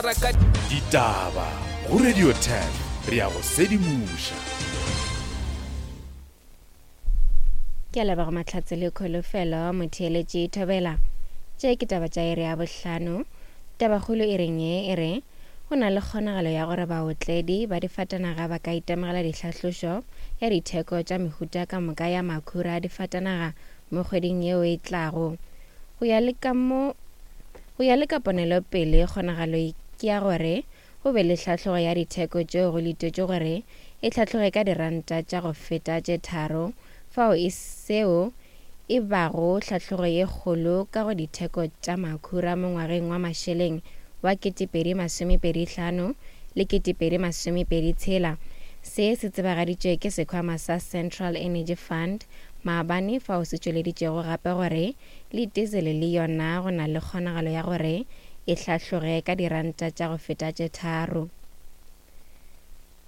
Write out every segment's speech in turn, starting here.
Ditaba go Radio 10 re a go sedimoša. Ke a leboga Mahlatse le Kholofelo Motheeletši Thobela. Tše ke taba tša iri ya bohlano. Tabakgolo e reng ye e re go na le kgonagalo ya gore baotledi ba difatanaga ba ka itemogela dihlahlošo ya ditheko tša mehuta ka moka ya makhura a difatanaga mo kgweding yeo e tlago. Go ya le ka mo Go ya le ka ponelopele, kgonagalo ke ya gore go be le tlhahlogo ya ditheko tšeo go letetšwe gore e tlhatloge ka diranta tša go feta tše tharo, fao e seo e bago tlhatlogo ye kgolo ka go ditheko tša makhura mo ngwageng wa mašeleng wa 2025 le 2026. Se se tsebagaditšwe ke sekhwama sa Central Energy Fund maabane fao se tšweleditšego gape gore Le diesel le yona go na le kgonagalo ya gore e hlahloge ka diranta tša go feta tše tharo.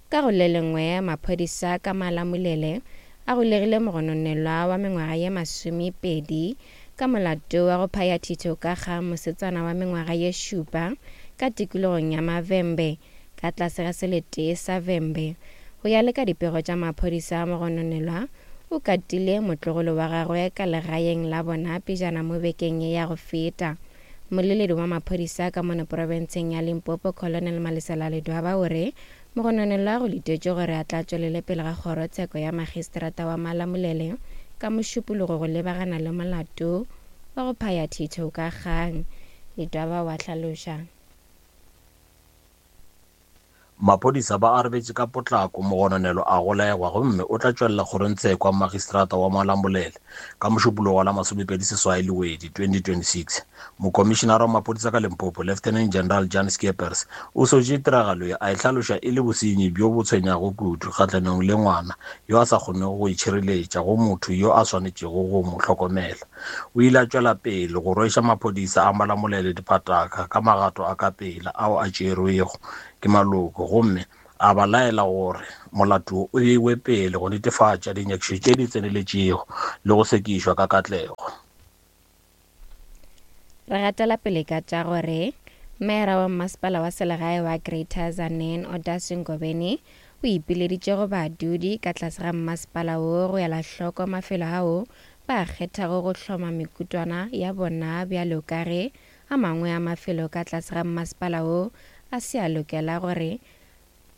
Ka go le lengwe, maphodisa ka Malamulele a golegile mogononelwa wa mengwaga ye masomepedi ka molato wa go phaya thitho ka ga mosetsana wa mengwaga ye šupa ka tikologong ya Mavembe ka tlase ga selete sa Vhembe. Go ya le ka dipego tša maphodisa, mogononelwa o katile motlogolo wa gagwe ka legaeng la bona pejana mo bekeng ye ya go feta. Mmoleledi wa maphodisa ka mono profenseng ya Limpopo, Colonel Malesela Ledwaba o re mogononelwa go letetšwe gore a tla tšwelele pele ga kgorotsheko ya magistrata wa Malamulele ka Mošupologo go lebagana le molato wa go phaya thitho ka kgang. Ledwaba o a hlaloša. Maphodisa ba arabetše ka potlako, mogononelwa a golegwa gomme o tla tšwelela kgorongtsheko ya Magistrata wa Malamulele ka Mošupologo wa la 28 Lewedi 2026. Mokomišenara wa maphodisa ka Limpopo, Lieutenant General Jan Scheepers, o sotše tiragalo ye a e hlaloša e le bosenyi bjo bo tshwenyago kudu kgahlanong le ngwana yo a sa kgonego go itšhireletša go motho yo a swanetšego go mo hlokomela. O ile a tšwela pele go rweša maphodisa a Malamulele diphataka ka magato a ka pela ao a tšerwego ke maloko gomme a ba laela gore molato wo o beiwe pele go netefatša dinyakišišo tše di tseneletšego le go sekišwa ka katlego. Re gatela pele ka tša gore Meyara wa Mmasepala wa Selegae wa Greater Tzaneen Odas Ngobeni o ipileditše go badudi ka tlase ga mmasepala wo go ela hloko mafelo ao ba kgethago go hloma mekutwana ya bona bjalo ka ge a mangwe a mafelo ka tlase ga mmasepala wo a se a lokela gore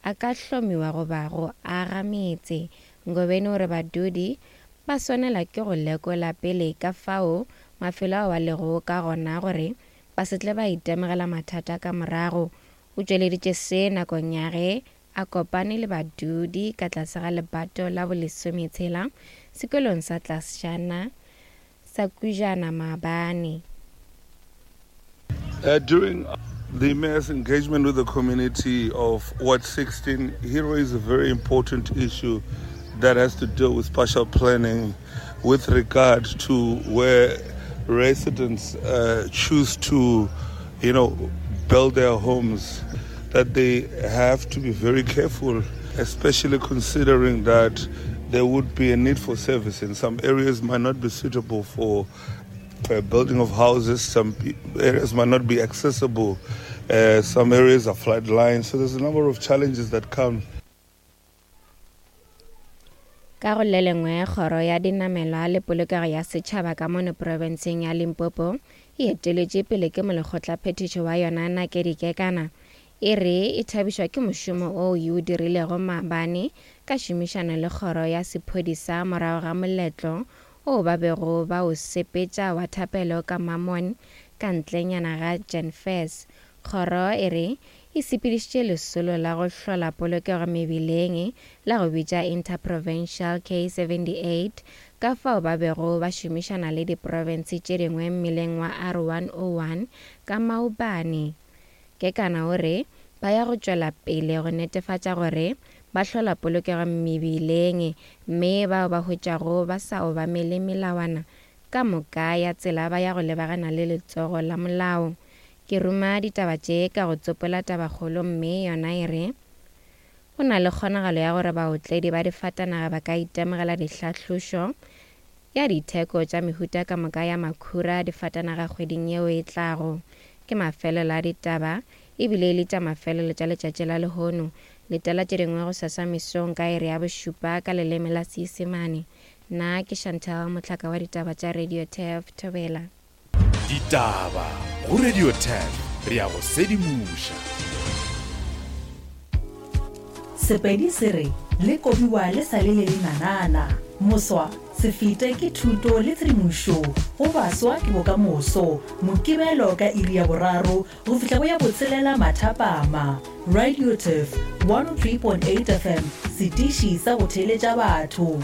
a ka hlomiwa goba go aga metse. Ngobeni o re badudi ba swanela ke go lekola pele ka fao mafelo ao a lego ka gona gore ba se tle ba itemogela mathata ka morago. O tšweleditše se nakong ya ge a kopane le badudi ka tlase ga lebato la bolesometshela sekolong sa tlasjana sa Kujana maabane. Uh, during the mayor's engagement with the community of Ward 16, he raised a very important issue that has to do with spatial planning with regard to where residents uh, choose to, you know, build their homes, that they have to be very careful, especially considering that there would be a need for service and some areas might not be suitable for uh, building of houses, some areas might not be accessible, uh, some areas are floodlines. So there's a number of challenges that come. Ka go le lengwe, Kgoro ya Dinamelwa le Polokego ya Setšhaba ka mono profenseng ya Limpopo e eteletše pele ke molekgotlaphethiši wa yona Nakedi Kekana e re e thabišwa ke mošomo o e o dirilego maabane ka šomišano le kgoro ya sephodisa morago ga moletlo o ba bego ba o sepetša wa thapelo ka Mammon ka ntlenyana ga Janfers. Kgoro e re e sepedišitše lesolo la go hlola polokego mebileng la go bitša Interprovincial K78 ka fao ba bego ba šomišana le diprofense tše dingwe mmileng wa R101 ka maobane. Kekana o re ba ya go tšwela pele go netefatša gore ba hlola polokego mebileng mme bao ba hwetšwago ba sa obamele melawana ka moka ya tsela ba ya go lebagana le letsogo la molao. Ke ruma ditaba tše ka go tsopola tabakgolo mme yona e re, Go na le kgonagalo ya gore baotledi ba difatanaga ba ka itemogela dihlahlošo ya ditheko tša mehuta ka moka ya makhura a difatanaga kgweding yeo e tlago. Ke mafelelo a ditaba. e bile e le tša mafelelo tša letšatši la lehono. Letela tše dingwe gosasa mesong ka iri ya bošupa ka leleme la Seisemane. Nna ke Chantal Mohlaka wa ditaba tša Radio Turf Thobela. Ditaba go Radio Turf re a go sedimoša. Sepedi se re le kobiwa le sa le le lenanana. Moswa, se fete ke thuto le tshedimošo go baswa ke bokamoso. Mokibelo ka iri ya boraro go fihla go ya botshelela mathapama. Radio Turf 103.8 FM, setiši sa go theeletša batho.